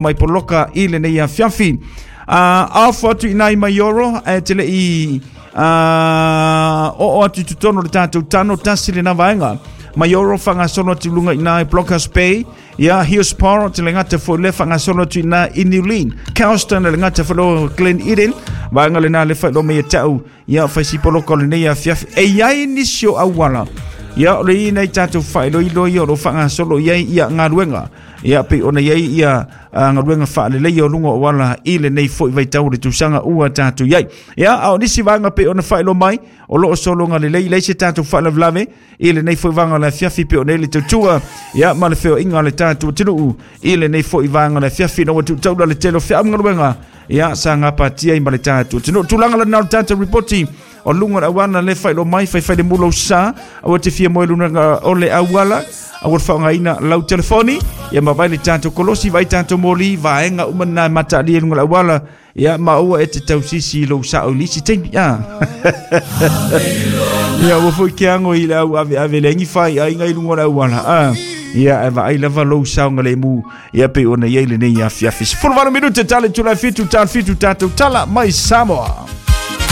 Mai poloka i lenei afiafi. Afo atu i nai Maioro, ae te lei oo atu i totonu o le tatou tano tasi lena vaega. Maioro whangasolo atu lunga i nai Blockhouse Bay, ia Hillsborough te le ngata foi le whangasolo atu i nai i Newlyn, Kelston le ngata foi lo Glen Eden, vaega lena le whai lo mai e tau, ia whai si poloka o lenei afiafi. E iai nisi o auala, ia o le i nei tatou whaeloilo ia o lo whangasolo i ai ia ngaluenga. Ia pei ona i ai ia galuega faaleleia o luga o auala i lenei foi vaitau o le tausaga ua tatou i ai. Ia, a o nisi vaega pei ona faailoa mai, o lo o sologa lelei, leai se tatou faalavelave i lenei foi vaega o le afiafi pei ona i ai le tautua, ia, ma le feoaiga a le tatou atunuu i lenei foi vaega o le afiafi ina ua tuutaula le tele o feau ma galuega, ia, sa gapatia ai ma le tatou atunuu. Tulaga lena o le tatou ripoti o luga o le auala le faailoa mai, faifai le mulo sa, aua te fia moe luna o le auala, aua le faaaogaina lau telefoni, ia ma vai le tatou kolosi, vai tatou moli, vaega uma na e mataalia i luga o le auala, ia ma aua e te tausisi i lou sao i le isi taimi. Ia ua foi ke ago i le au ave ave le angi fai aiga i luga o le auala. Ia e vaai lava lou saogalemu, ia pei ona i ai lenei afiafi. 18 minute tale tula 7 tal 7 tatou tala mai Samoa.